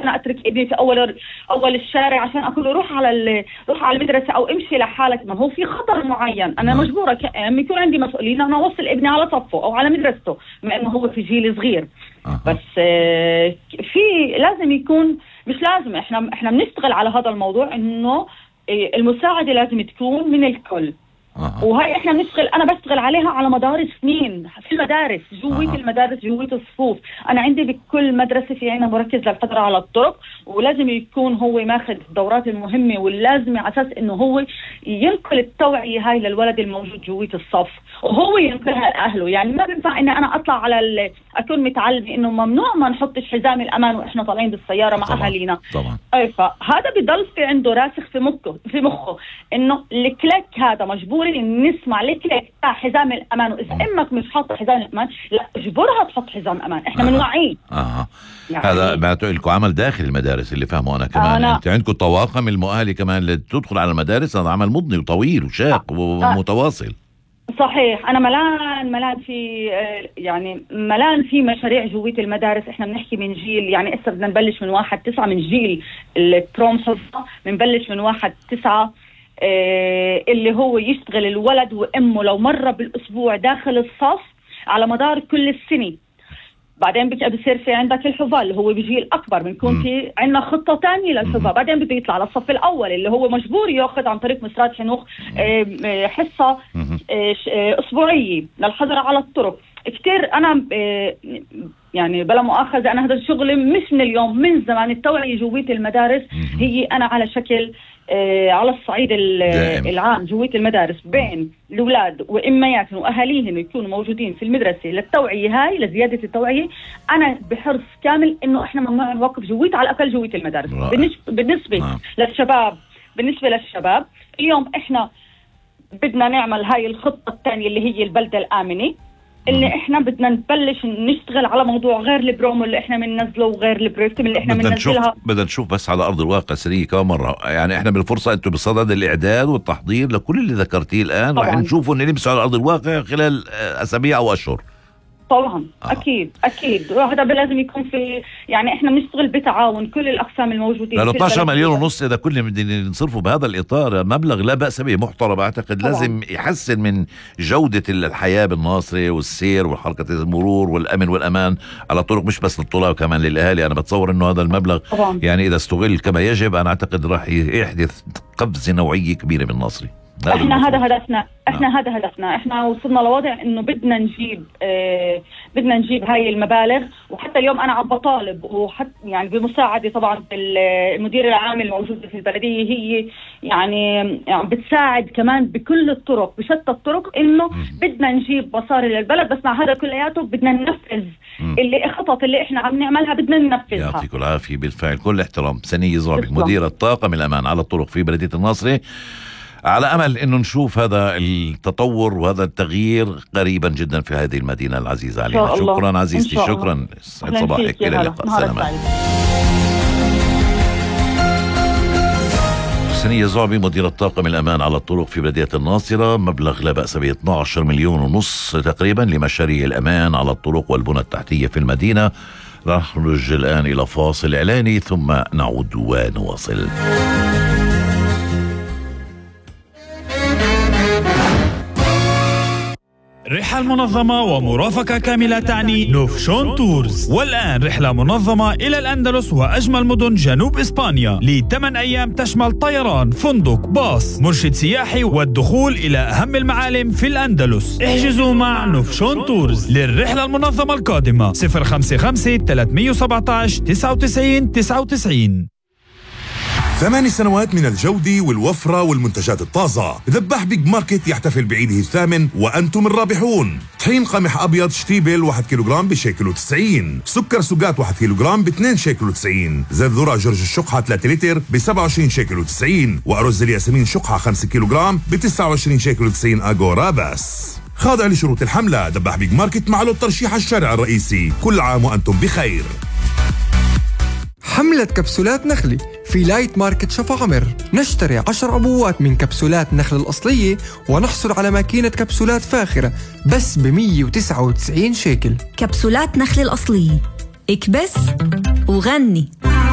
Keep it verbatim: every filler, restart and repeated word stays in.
أنا أترك ابني في أول أول الشارع عشان أقول له روح على روح على المدرسة أو امشي لحالك. ما هو في خطر معين، أنا مجبورة كأم يكون عندي مسؤولين أنا أوصل ابني على صفه أو على مدرسته بما إنه هو في جيل صغير. أه. بس في لازم يكون، مش لازم، إحنا إحنا بنشتغل على هذا الموضوع إنه المساعدة لازم تكون من الكل. أه. وهي احنا بنشتغل، انا بشتغل عليها على مدار سنين في المدارس، جوية أه. المدارس، جوية الصفوف. انا عندي بكل مدرسة في عنا مركز للقدرة على الطرق، ولازم يكون هو ماخذ الدورات المهمة واللازمة على اساس انه هو ينقل التوعية هاي للولد الموجود جوية الصف، وهو ينقلها لاهله. يعني ما بينفع ان انا اطلع على ال... اكون متعلمة انه ممنوع ما نحطش حزام الامان واحنا طالعين بالسيارة مع طبعا. اهالينا. طبعا. اي فهذا بضل في عنده راسخ في مخه في مخه انه الكليك هذا مجبور نسمع لك لك حزام الامان، واذا امك مش حاطه حزام الامان لا اجبرها تحط حزام امان. احنا آه. بنوعيه. اه يعني هذا معناته لكم عمل داخل المدارس اللي فهمه انا كمان. آه انت عندكم طواقم المؤهله كمان اللي تدخل على المدارس، هذا عمل مضني وطويل وشاق آه. ومتواصل. صحيح. انا ملان ملان في يعني ملان في مشاريع جوية المدارس. احنا بنحكي من جيل، يعني هسه بدنا نبلش من واحد تسعة، من جيل التروم حفظة بنبلش من واحد تسعة إيه اللي هو يشتغل الولد وامه لو مرة بالاسبوع داخل الصف على مدار كل السنة. بعدين بصير في عندك الحفاظ اللي هو بيجي الأكبر، بنكون في عندنا خطة تانية للحفاظ. بعدين بده يطلع للصف الأول اللي هو مجبور يأخذ عن طريق مسرات حنوخ حصة أسبوعية للحظر على الطرق. كتير أنا يعني بلا مؤاخذة أنا هذا الشغل مش من اليوم، من زمان. التوعية جوية المدارس هي أنا على شكل آه على الصعيد العام جوية المدارس بين الأولاد وإمياتهم وأهاليهم يكونوا موجودين في المدرسة للتوعية هاي، لزيادة التوعية. أنا بحرص كامل إنه إحنا ممنوع نوقف جوية على الأقل جوية المدارس. بالنسبة آه. للشباب بالنسبة للشباب اليوم إحنا بدنا نعمل هاي الخطة الثانية اللي هي البلدة الآمنة، اللي احنا بدنا نبلش نشتغل على موضوع غير البرومو اللي احنا بننزله وغير البروجكت اللي احنا بننزلها. بدنا نشوف بس على ارض الواقع سريع كم مره. يعني احنا بالفرصه انتم بصدد الاعداد والتحضير لكل اللي ذكرتيه الان، راح نشوفه ان نمسوا على ارض الواقع خلال اسابيع او اشهر. طبعا آه. اكيد اكيد وهذا لازم يكون في، يعني احنا بنشتغل بتعاون كل الاقسام الموجودين. ثلاثة عشر مليون ونص اذا كل بدنا نصرفه بهذا الاطار مبلغ لا باس به، محترم. اعتقد طبعا. لازم يحسن من جوده الحياه بالناصري والسير وحركه المرور والامن والامان على الطرق، مش بس للطلاب كمان للاهالي. انا بتصور انه هذا المبلغ طبعا. يعني اذا استغل كما يجب انا اعتقد راح يحدث قفزه نوعيه كبيره بالناصري. احنا هذا هدفنا احنا آه. هذا هدفنا احنا وصلنا لوضع انه بدنا نجيب اه بدنا نجيب هاي المبالغ. وحتى اليوم انا عم بطالب وحتى يعني بمساعده طبعا المدير العام الموجوده في البلديه، هي يعني, يعني بتساعد كمان بكل الطرق بشتى الطرق انه بدنا نجيب مصاري للبلد. بس مع هذا كلياته بدنا ننفذ اللي الخطط اللي احنا عم نعملها بدنا ننفذها. يعطيكم العافيه. بالفعل كل احترام. سنية زعبي مديرة طاقم الامان على الطرق في بلديه الناصري، على أمل أنه نشوف هذا التطور وهذا التغيير قريبا جدا في هذه المدينة العزيزة علينا. شكرا عزيزتي، شكرا. سعد صباحك. إلى اللقاء. سلام. سنية زعبي مديرة طاقم الأمان على الطرق في بلدية الناصرة. مبلغ لا بأس به اثني عشر مليون ونص تقريبا لمشاريع الأمان على الطرق والبنى التحتية في المدينة. راح نرجع الآن إلى فاصل إعلاني ثم نعود ونواصل. رحلة منظمة ومرافقة كاملة تعني نوفشون تورز. والآن رحلة منظمة إلى الأندلس وأجمل مدن جنوب إسبانيا لثمان أيام تشمل طيران، فندق، باص، مرشد سياحي والدخول إلى أهم المعالم في الأندلس. احجزوا مع نوفشون تورز للرحلة المنظمة القادمة صفر خمسة خمسة ثلاثة سبعة تسعة تسعة تسعة تسعة. ثماني سنوات من الجودة والوفرة والمنتجات الطازة. ذبح بيج ماركت يحتفل بعيده الثامن وأنتم الرابحون. طحين قمح أبيض شتيبل واحد كيلوغرام بشيكل وتسعين. سكر سجات واحد كيلوغرام باثنين شيكل وتسعين. زيت ذرة جرج الشقحة ثلاثة لتر بسبعة وعشرين شيكل وتسعين. وأرز الياسمين شقحة خمسة كيلوغرام بتسعة وعشرين شيكل وتسعين أغورا بس. خاضع لشروط الحملة. ذبح بيج ماركت مع له الترشيح الشارع الرئيسي. كل عام وأنتم بخير. حملة كبسولات نخلي في لايت ماركت شفا عمر. نشتري عشر عبوات من كبسولات نخل الأصلية ونحصل على ماكينة كبسولات فاخرة بس ب مية وتسعة وتسعين شيكل. كبسولات نخل الأصلية، اكبس وغني.